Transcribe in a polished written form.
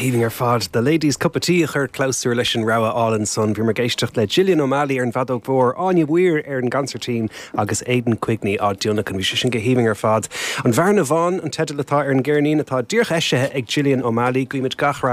haoibhinn ar fad. The Ladies Cup of Tea a chuir clabhsúr leis an rogha álainn san. Bhíomar ag éisteacht le Gillian O'Malley ar an bhfeadóg mhór, Áine Weir ar an gconsairtín agus Aidan Quigney á dtionlacan. Bhí sé sin go haoibhinn ar fad. An Bhearna Bhán an teideal atá ar an gceirnín atá díreach eisithe ag Gillian O'Malley. Guímid gach rath.